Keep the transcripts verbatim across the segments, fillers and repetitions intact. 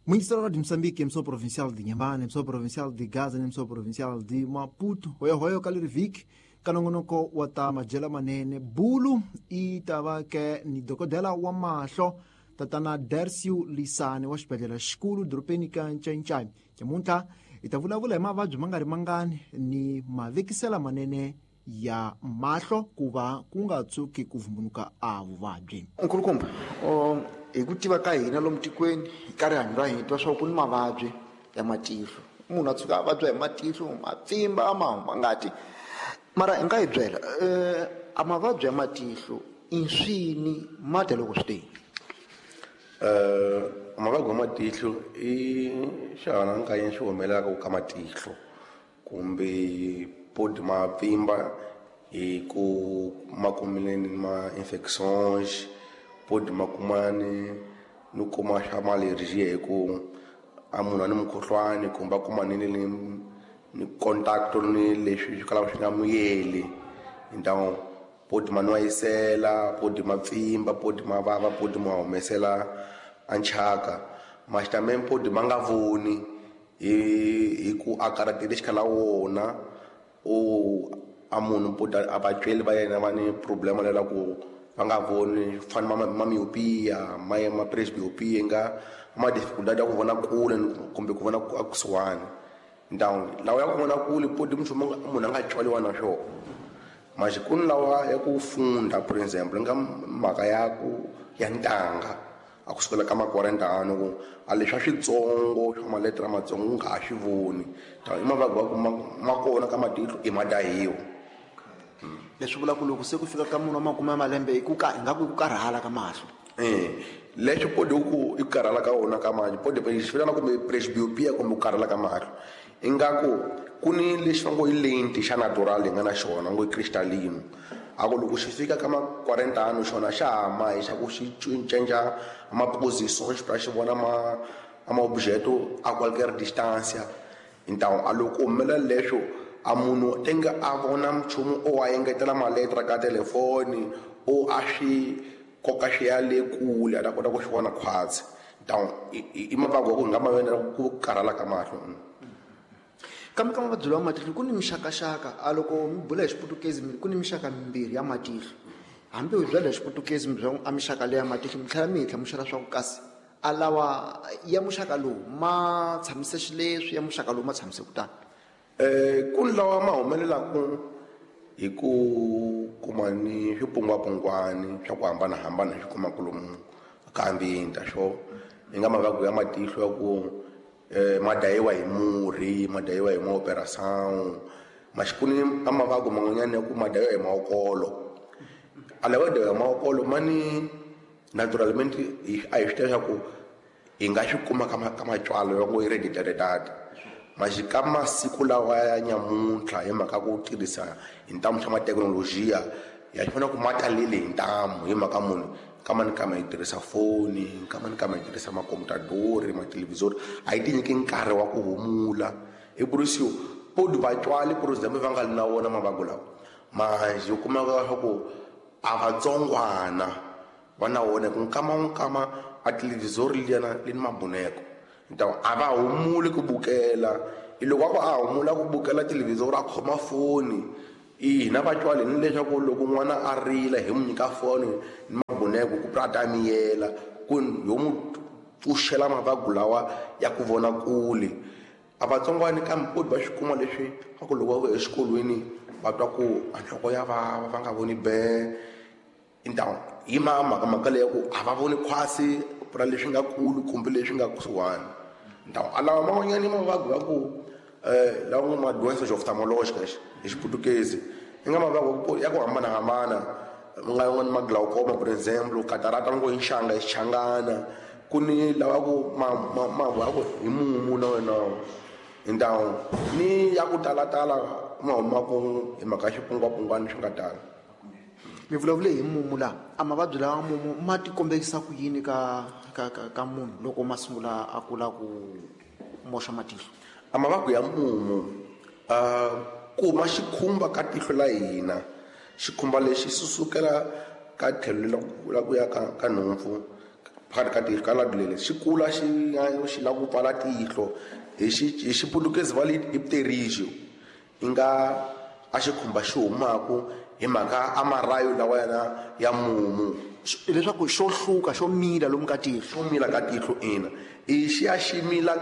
Ministro de Moçambique, emissão provincial de Inhambane, emissão provincial de Gaza, emissão provincial de Maputo, hoya hoya kalirivik, kanongonoko wata majela manene bulu e tava que ni dokodela wa mahlo tatana Dercio Lisane wa xibedhlele xikulu dorobeni ka Ncainchai. Nyamuntlha hi ta vulavula hi mavabyi ma nga ri mangani ni mavekisela manene ya mahlo ku va ku nga tshuki ku vumbunuka a vuvabyi. Nkulukumba, hi ku tiva ka hina lomu tikweni ka rihanyo ra hina twa swa ku ni mavabyi ya matihlo. Munhu a tshuka a vabya hi matihlo, ma pfimba, ma huma ngati. Mara hi nga hi byela, a mavabyi ya matihlo i swini ma dya loko swi teni? Eh, mavabyi ya matihlo i xihanankanyi xi humelelaka ka matihlo kumbe podi ma pfimba hi ku ma kumile ni ma infections, podi ma kumani ni kuma xa ma-allergie hi ku a munhu a ni mukhuhlwani kumbe a kuma ni ni ni contact ni leswi swi kalaka swi nga muyeli. Então podi ma nwayisela, podi ma pfimba, podi ma vava, podi ma humesela a nchaka. Mas também podi ma nga voni hi hi ku a karatelexika la wona o a munhu podi a vatsweli va yena va ni problema lela ku va nga voni fana ma ma myopia, ma ma presbyopia nga ma dificuldade ya ku vona kule kumbe ku vona a kusuhani. Então lawa ya ku vona kule podi munhu munhu a nga tswaliwa na swona. Mas ku ni lawa ya ku funda, por exemplo, nga mhaka ya ku ya ntanga a kusukela ka makuarenta ano ku a leswi switsongo swa maletere matsongo u nga ha swi voni. I mavabyi ya ku ma kona ka matihlo i madahiwa. Leswi vulaka ku loko se ku fika ka munhu wa makume ya malembe i ku ka ingaku i ku karhala ka mahlo. Eh, leswi podi ku i ku karhala ka wona ka mahlo, podi xi vitana kumbe presbyopia kumbe ku karhala ka mahlo. Ingaku ku ni lexi va ngo i lenti xa natural hi nga na xona ngo i crystalline. A ku loko xi fika ka ma quarenta ano xona xa hama hi xa ku xi cinca ma position xi ta xi vona ma ma objeto a qualquer distância. Então a loko humelela leswo a munhu tenga a vona nchumu o a engetela maletra ka telefoni o a swi koka xi ya le kule a ta kota ku xi vona khwatsi. Então i mavabyi ya ku hi nga ma vona ku karhala ka mahlo. Kambe ka mavabyi lawa matihlo ku ni mixakaxaka. A loko mi bula hi xiputukezi ku ni mixaka mimbirhi ya matihlo. Hambi u byela hi xiputukezi mi byela a mixaka leya matihlo mi tlhela mi hi hlamusela swa ku kasi a lawa ya muxaka lowu ma tshamise xileswi, ya muxaka lowu ma tshamise kutani. Eh, ku ni lawa ma humelelaka hi ku kuma ni swipungwapungwani swa ku hambanahambana hi swi kumaka lomu ka ambiente swo i nga mavabyi ya matihlo ya ku eh ma dayiwa hi murhi, ma dayiwa hi ma-operação. Mas ku ni a mavabyi man'wanyana ya ku ma dayiwa hi maokolo. A lawa dayiwa hi maokolo ma ni naturalmente a hi swi tiva swa ku hi nga swi kuma ka ka matswalo ya ngo hereditary. Mas ka masiku lawa ya nyamuntlha hi mhaka ku tirhisa hi ntamu xa mathekinolojiya ya swi vona ku ma talele hi ntamu hi mhaka munhu kama ni kama hi tirhisa foni, kama ni kama hi tirhisa makomputadori, mathelevhizori, a yi ti nyiki nkarhi wa ku humula. Hi por isso podi vatswari por exemple va nga li na wona mavabyi lawa, mas u kumeka swa ku a vatsongwana va na wona ku nkama nkama a televhizori liyana li ni mabuneko. Então a va humuli ku bukela. I loko a ku a humula ku bukela televhizori a khoma foni, i hina vatswari ni leswaku loko n'wana a rila hi n'wi nyika foni ni mabuneko ku pra ta miyela ku yo n'wi pfuxela mavabyi lawa ya ku vona kule. A vatsongwana kambe podi va swi kuma leswi a ku loko va vuya exikolweni va twa ku a nhloko ya vava va nga voni be. Então hi ma mhaka mhaka leyi ya ku a va voni khwasi pra leswi nga kulu kumbe leswi nga kusuhani. Então a lawa man'wanyana i mavabyi ya ku eh lawa ma doenças oftalmológicas hi xiputukezi i nga mavabyi ya ku hambanahambana nga yin'wana ma glaucoma por exemple, catarata ngo hi nxanga hi xichangana, ku ni lawa ku ma ma ma ya ku hi mumu na wena. Então ni ya ku talatala ma humaka hi mhaka xipungwapungwani swi nga tala. Mi vulavule hi mumu laha, a mavabyi lawa mumu ma ti kombekisa ku yini ka ka ka ka munhu loko ma sungula a kula ku moxa matihlo? A mavabyi ya mumu uh, ku ma xikhumba ka tihlo la hina, xikhumba lexi xi sukela ka tlhelo la ku ya ka ka nhompfu phakathi ka tihlo ka ladulele xi kula xi xi lava ku pfala tihlo hi xi hi xiputukezi va li i pterigio i nga a xikhumba xi humaku hi mhaka a marayo lawa yana ya mumu leswaku xo hluka xo mila lomu ka tihlo xo mila ka tihlo ina i xi ya xi mila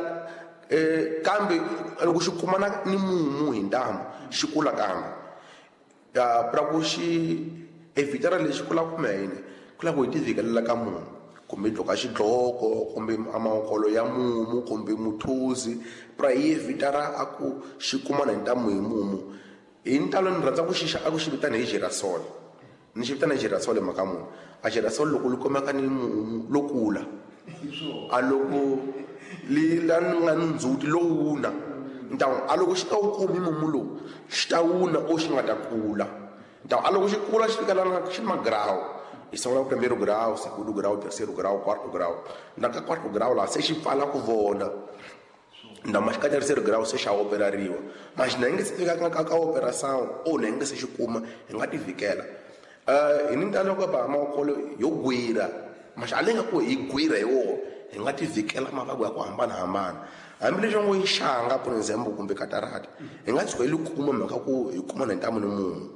eh kambe loko xi kumana ni mumu hi ntamu xi kula kambe ya pra ku xi evitara lexi kula kumbe yini ku lava ku hi tivikelela ka mumu kumbe dloka xidloko kumbe amakolo ya mumu kumbe muthuzi pra hi evitara a ku xi kumana hi ntamu hi mumu hi ntalo ni rhandza ku xixa a ku xi vitana hi girasol ni xi vitana hi girasol mhaka munhu a girasol loko li kumeka ni mumu lo kula a loko li la nga ni ndzhuti lo wuna ntawu a loko xi ta wu kumi mumu lowu xi ta wuna o xi nga ta kula ntawu a loko xi kula xi fika lana xi magrawu hi sungula primeiro grau segundo grau terceiro grau quarto grau na ka quarto grau laha se xi pfala ku vona ndama xi ka terceiro grau se xa operariwa mas na nge se fika ka ka operação o na nge se xi kuma hi nga ti vikela eh hi ni ntalo ka ba makolo yo gwira mas a lenga ku hi gwira hi wo hi nga ti vikela mavabyi ya ku hambanahambana hambileswi ngo yi xanga por example kumbe katarata hi nga tshuka hi li kuma mhaka ku hi kuma na ntamu ni munhu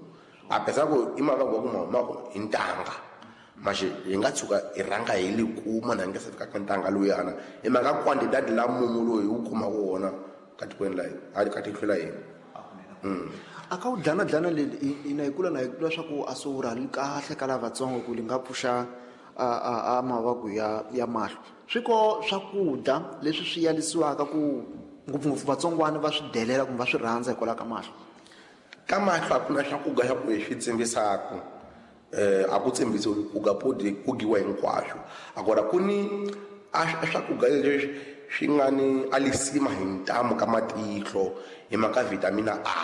apesar ku i mavabyi ya ku ma humaka hi ntanga mas hi nga tshuka hi rhanga hi li kuma na nge se fika ka ntanga luyana hi mhaka quantidade la mumu loyi hi wu kumaka wona ka tikweni la hina ka tihlo la hina a ka wu dlanadlana leli ina hi kula na hi kula swa ku a swi wurhali kahle ka lavatsongo ku li nga pfuxa a a a mavabyi ya ya mahlo swi ko swakudya leswi swi yalisiwaka ku ngopfungopfu vatsongwana va swi delela kumbe va swi rhandza hikwalaho ka mahlo ka mahlo a ku na swakudya swa ku hi swi tsimbisaka eh a ku tsimbisiwi ku ga podi ku giwa hinkwaswo agora ku ni a swakudya leswi swi nga ni alisima hi ntamu ka matihlo hi mhaka vitamina A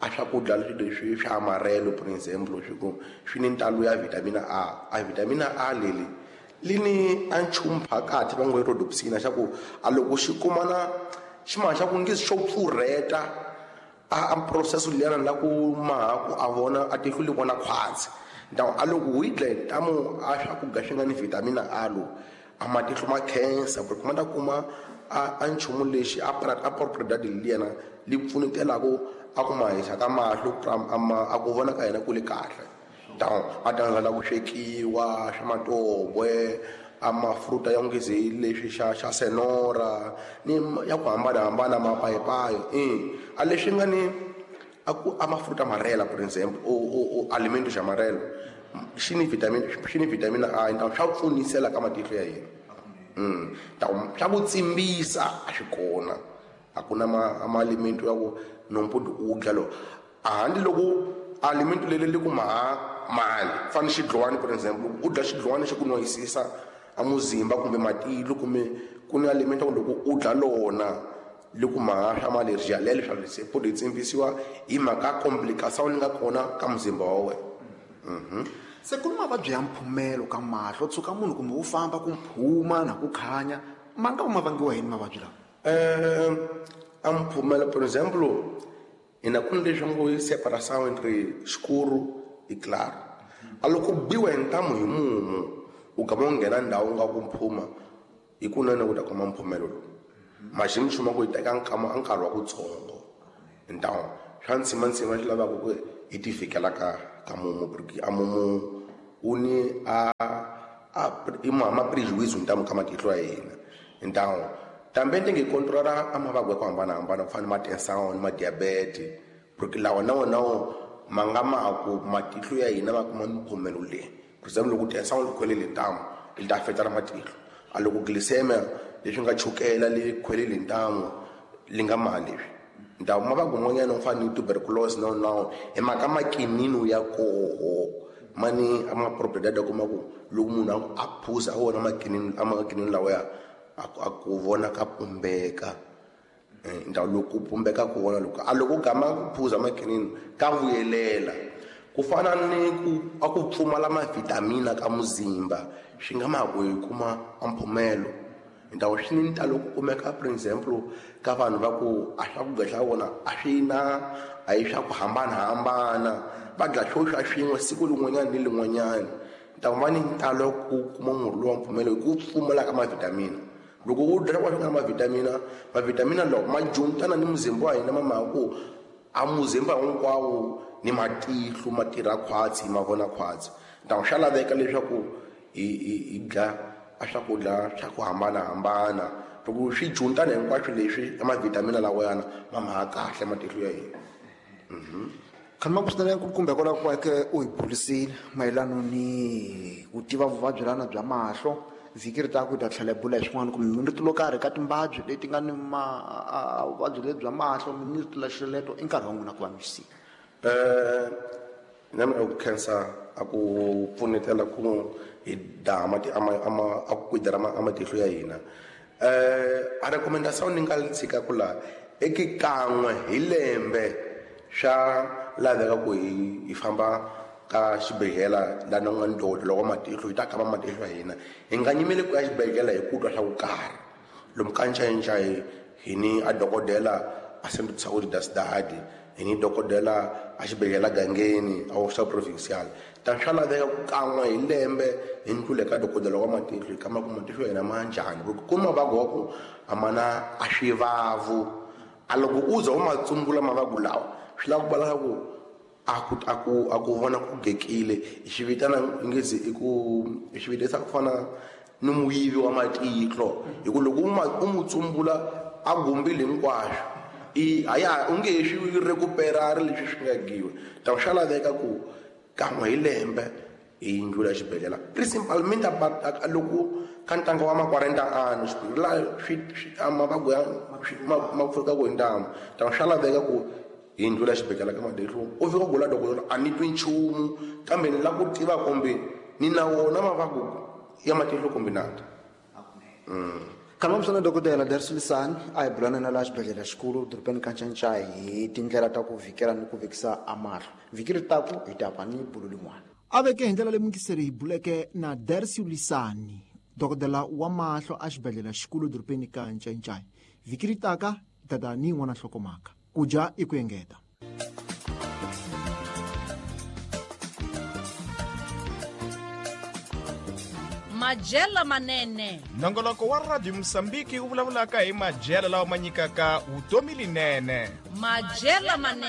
a swakudya leswi swa amarelo por example swi ku swi ni ntalo ya vitamina A a vitamina A leli li ni a nchumu phakathi va ngo i rhodopsina xa ku a loko xi kumana ximana xa ku nge xo pfurheta a a process liyana la ku maha ku a vona a tihlo li vona khwatsi ntawu a loko wu yi dla hi ntamu a swakudya swi nga ni vitamina A lo a matihlo ma khensa ku ma ta kuma a a nchumu lexi a a propriedade liyana li pfunetelaku a ku mahisa ka mahlo a ku vona ka yena ku le kahle ntawu a ta ku swekiwa swa matobwe a mafruta ya ngezi leswi xa xa senora ni ya ku hambanahambana mapayipayi i a leswi nga ni a ku a mafruta amarela por example o o o alimento xa amarelo xi ni vitamin xi ni vitamina A ntawu swa pfunisela ka matihlo ya hina mm ntawu swa ku tsimbisa a swi kona a ku na ma ma alimento ya ku nompodi u dya lo a handle loko alimento leli li ku maha mali fana xidlwani por example u dya xidlwani xi ku noyisisa a muzimba kumbe matilo kumbe ku ni alimento loko u dya lona li ku maha swa malergia lelo swa lese podi tsimbisiwa hi mhaka complication li nga kona ka muzimba wa wena mhm se ku ni mavabyi ya mphumelo ka mahlo tshuka munhu kumbe u famba ku mphuma na ku khanya ma nga ma vangiwa yini mavabyi lawa eh a mphumelo por example ina ku ni leswi ngo yi separação entre escuro e claro a loko biwa hi ntamu hi mumu u gama u nghena ndhawu nga ku mphuma hi kunene u ta kuma mphumelo lowu maxi mixuma ku yi teka nkama a nkarhi wa kutsongo ntawu swa ntsimantsima swi lavaka ku hi ti vhikela ka ka mumu porque a mumu wu ni a a i ma prejuízo ntamu ka matihlo ya hina ntawu tambe ndenge controlar a mavabyi ya ku hambanahambana ku fana na ma-tension ni ma-diabete porque lawa na wona ma nga ma ku matihlo ya hina ma kuma mphumelo leyi for example loko tension li khwelele ntamu li ta affecta na matihlo a loko glycemia leswi nga chukela li khwelele ntamu li nga ma leswi ntawu mavabyi man'wanyana u fana ni tuberculosis na na hi mhaka makinino ya koho mani a ma propriedade kuma ku loko munhu a phuza a wona makinino a makinino lawa ya a ku vona ka pumbeka ntawu loko ku pumbeka ku vona loko a loko gama ku phuza makinino ka vuyelela ku fana ni ku a ku pfumala mavitamina ka muzimba swi nga ma ku hi kuma a mphumelo ntawu swi ni ntalo ku kumeka for example ka vanhu va ku a swakudya swa vona a swi na a hi swa ku hambanahambana va dya swo swa swin'we siku lin'wanyana ni lin'wanyana Ta va ni ntalo ku kuma murhi lowa mpfumelo hi ku pfumala ka mavhitamini. Loko u dya swakudya swa nga na mavhitamini, mavhitamini lawa ma juntana ni muzimba wa hina ma mhaka ku a muzimba hinkwawo ni matihlo ma tirha khwatsi ma vona khwatsi. Ta swa laveka leswaku hi hi hi dya a swakudya swa ku hambanahambana. Loko swi juntana hinkwaswo leswi mavhitamini lawa yana ma mhaka kahle matihlo ya hina. Mhm. Khama ku swinene kumbe kwala ku ke u hi burisile mayelana ni ku tiva vuvabyi lana bya mahlo. Vhiki ri ta ku ta tlhela bula hi swin'wana kumbe mi rito lo karhi ka timbabyi leti nga ni ma vuvabyi lebyi bya mahlo mi rito la xileto i nkarhi wa n'wina ku va mi swi. Eh na mina ku khensa a ku pfunetela ku hi daha mati ama ama a ku kwidera ma matihlo ya hina. Eh a recommendation ni nga tshika ku la eki kan'we hi lembe swa laveka ku hi hi famba ka xibedhlele la na nga ndodo loko matihlo hi ta kamba matihlo ya hina. Hi nga nyimeli ku ya xibedhlele hi ku twa swa ku karhi. Lomu ka Ncayincai hi ni a dokodela a Centro de Saúde da Cidade, hi ni dokodela a xibedhlele gangeni a hospital provincial. Ta swa laveka ku kan'we hi lembe hi ndlule ka dokodela wa matihlo hi kamba ku matihlo ya hina ma njhani. Ku ku mavabyi wa ku a ma na a swivavu. A loko u za u ma tsumbula mavabyi lawa swi lava ku va ku a ku a ku a ku vona ku gekile hi xi vitana ngezi i ku hi xi vitisa ku fana ni muyivi wa matihlo hi ku loko u ma u mu tsumbula a gumbile hinkwaswo i a ya u nge swi recuperar leswi swi nga giwa. Ta swa laveka ku kan'we hi lembe hi ndlula xibedhlele principalmente loko ka ntanga wa ma-quarenta anos xibedhlele swi mavabyi ya ma pfuka ku hi ntamu. Ta swa laveka ku hi ndlula xibedhlele ka matihlo u fika u gula dokodela a ni twi nchumu kambe ni lava ku tiva kumbe ni na wona mavabyi ya matihlo kumbe na ta. Khama msana dokodela Dércio Lisani a hi bulana na laha xibedhlele xikulu dorobeni ka Ncayincai hi tindlela ta ku vhikela ni ku vekisa a mahlo. Vhiki ri taku hi ta va ni bulu lin'wana. A veke hi ndlela leyi muyingiseri hi buleke na Dércio Lisani, dokodela wa mahlo a xibedhlele xikulu dorobeni ka Ncayincai. Vhiki ri taka hi ta ta ni yin'wana nhlokomhaka. Ku dya i ku engeta. Madyelo manene. Nongoloko wa Radio Mosambiki wu vulavulaka hi madyelo lawa ma nyikaka vutomi linene. Madyelo manene.